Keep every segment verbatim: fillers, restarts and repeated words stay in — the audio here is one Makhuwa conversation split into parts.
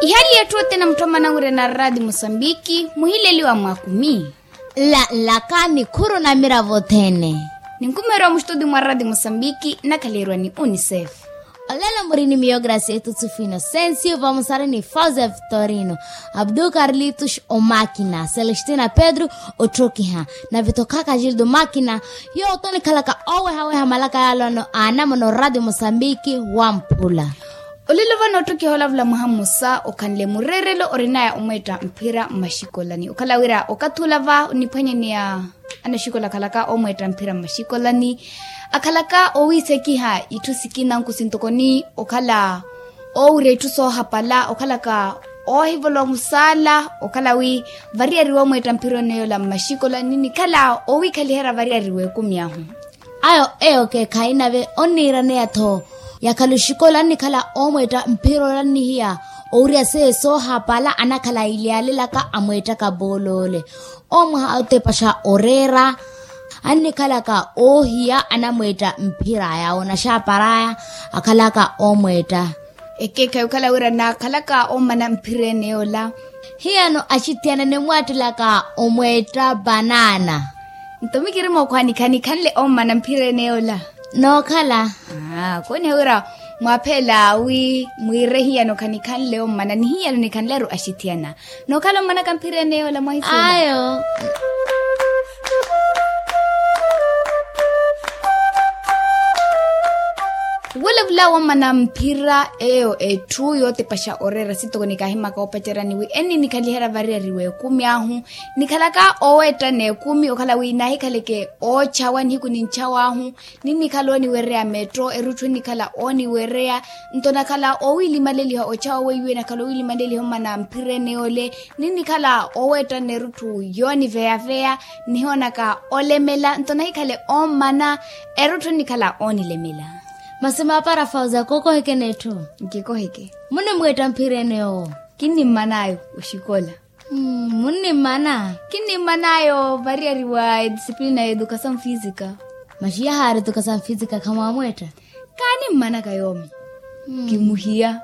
Ihali yetthu othene mutthomana wira na radi mosambiki muhileliwa mwa kumi. Nlaka nikhuru na miravo othene. Ninkumeeriwa mustutio mwa radi mosambiki nnakhaleriwa ni unicef. Olelo muri ni miyo gracia etutsifu inocencio vamusari ni fausia victorino, abdul carlitos omakina celestina pedro, otthokiha na vithokhaka gildo makina. Yowo tonikhalaka owehaweha malaka yalono anamona oradi mosambiki wamphula. Olelo vano otthokiha olavula mwaha mmosa okhanle mureerelo orinaya omweetta mphira mmaxikolani okhala wira okathi ola va oniphwanyaneya anaxikola akhalaka omweetta mphira mmaxikolani. Akhalaka owiisekiha itthu sikina nkusi ntoko ni okhala owirya itthu soohapala okhalaka oohivolowa musaala okhala wi variyariwe omweetta mphira oneyola mmaxikolani nikhala owiikhaliherya variyariwe ekumi ahu. Ayo eyo keekhayi nave onniiraneya-tho yakhala oxikola annikhala omweetta mphira ola annihiya owirya seiyo soohapala anakhala ilyalelaka amweettaka pooloole. Omwaha otepaxa oreera annikhalaka oohiya anamweetta mphiraya onaxaparaya akhalaka omweetta. Ekeekhayi okhala wira naakhalaka omana mphirene ola. Hiyano axithiyana nimwaattelaka omweetta panana. Nto mikirima okhwanikha nikhanle omana mphirene ola. Nookhala. Kooniha wira mwaaphela wi mwiire hiyano khanikhanle omana ni hiyano nikhanleru axithiyana. Nookhala ommanaka mphirene ola mwahisula ayo. Wolavula wommana mphira eyo etthu yootepaxa oreera sitoko nikaahimaka oopacerya ni wi enniinikhaliherya variyariwe ekumi ahu. Nikhalaka oweetta n'ekumi okhala wi naahikhaleke oochawa nihiku ni nchawa ahu. Ninnikhala ooniwereya metto erutthu ennikhala ooniwereya. Nto nakhala owiilimaleliha ochawa weiwe nakhala owiilimaleliha ommana mphirene ole. Ninnikhala oweetta n'erutthu yooniveyaveya nihoonaka olemela nto nahikhale ommana erutthu ennikhala oonilemela. Masi maapara fauza kookoheke n'etthu. Nkikoheke. Munimweetta mphirene owo. Kinnimman'ayo oxikola. Munnimmana. Kinnimman'ayo variyariwa edisciplina ya educasaw fisika. Masi yahaari educasaw fisika khamwaamweetta. Kaanimmanaka yoomi. Kimuhiya.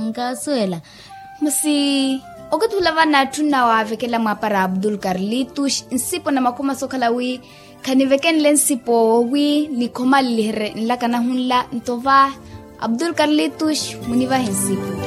Nkaasuwela. Masi okathi ula vano atthu nnawaavekela mwaapara abdul carlitos nsipo na makhoma sookhala wi khanivekenle nsipo wi nikhomaleliherye nlaka nahunla nto va abdul carlitos munivahe nsipo.